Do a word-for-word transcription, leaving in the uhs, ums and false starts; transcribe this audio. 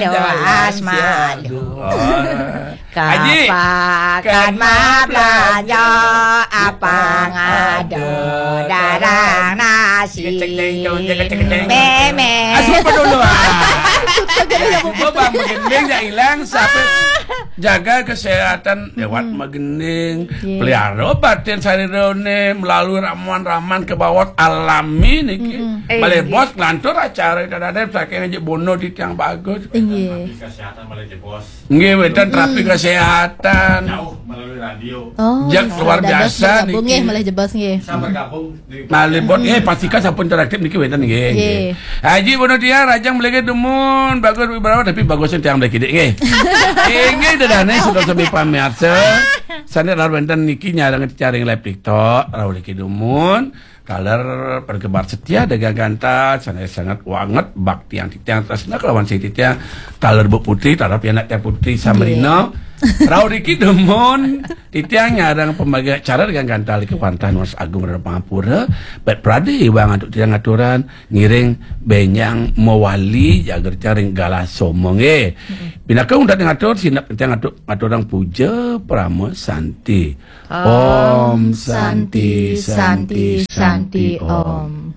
Doas malu. Kapakan mabelanja, apang ada darang nasi. Meme. Asup dulu ah. Coba bang begending jak hilang, siapa jaga kesehatan lewat begending, pelihara batin sarira ne melalui ramuan-ramuan ke bawah alami niki. Boleh bos ngelantur acara kita ada saking aja bono di tiang bagus. Inggih. Kesehatan malah jebos. Nggih, wénten terapi kesehatan. Jauh melalui radio. Oh, Jak luar dados biasa bergabung niki. Nggih, malih jebos nggih. Saya bergabung di Malih bos nggih, pastikan sampun interaktif niki wénten nggih. Nggih. Haji Bono Tiar, rajang mligi dumun, bagus beberapa tapi bagusnya tiang mligi nggih. Inggih dedane sudah sami pamirsa. Sane lar wénten niki nyareng caring live TikTok, rauh niki dumun. Taler pergebar setia dagang gantal, sane sangat wanget bakti yang titiang tresna kelawan sing titiang. Taler Bu Putri, taler pianak tiang Putri Samrina. Rauh niki dumun, titiang nyareng pembaga acara dagang gantal niki wantah nunas agung rada pangapura. Bet prade iwang antuk titiang aturan ngiring benjang mawali jager caring galah somo nggih. Pinaka untat ngatur sinep titiang ngatur ngaturang puja parama santi. Om Santi Santi Santi Om.